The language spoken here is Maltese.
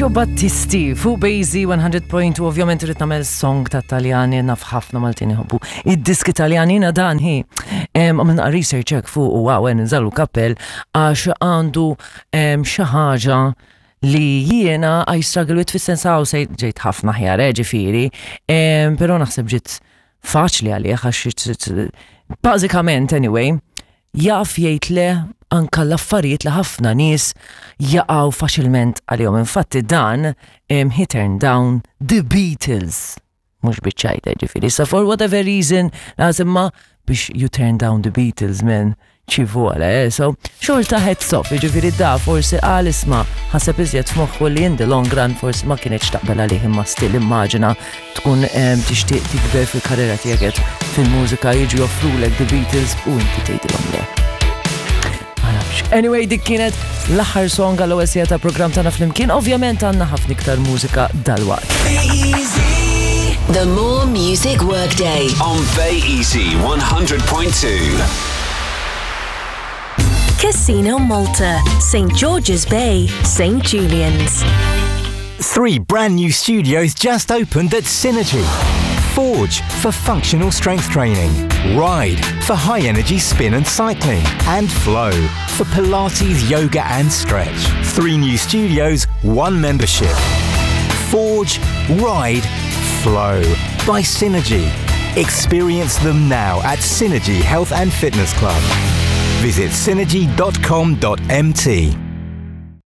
Lucio Battisti fuq Bejzi 100.2 ovvjament irrid nagħmel song ta' Taljani naf ħafna Maltin iħobbu. Id-diski Taljani na dan hi. Għamilna research hekk fuq u għaw nżallu kappell għax għandu xi ħaġa li jiena I struggle with fis-sens hawn se ġejt ħafna ħjar, eh, ġifieri, però naħseb ġiet faċli għalih għax bażikament anyway, jaf jgħid le anka l-affarijiet li ħafna nies jaqgħu faċilment għalihom. Infatti dan he turned down the Beatles. Mhux biċ-ċajta ġifieri. Sa for whatever reason, imma biex you turn down the Beatles, man, ci vuole, eh? So, xorta heads off, ġifiri da forsi għal isma ħaseb iżjed f'moħħu li in the long run forsi ma kienx taqbel għalih imma still immaġina tkun tixtieq tikber fil-karriera tiegħek fil-mużika jiġu joffrulek The Beatles u inti tgħidilhom le. Ma nafx. Anyway, dik kienet l-aħħar song għal ewwel ta' programm tagħna flimkien. Ovvjament għandna ħafna iktar mużika dalwaqt. The More Music Workday. On Bay Easy 100.2. Casino Malta, St. George's Bay, St. Julian's. Three brand new studios just opened at Synergy. Forge for functional strength training, Ride for high energy spin and cycling, and Flow for Pilates, yoga and stretch. Three new studios, one membership. Forge, Ride, Flow by Synergy. Experience them now at Synergy Health and Fitness Club. Visit synergy.com.mt.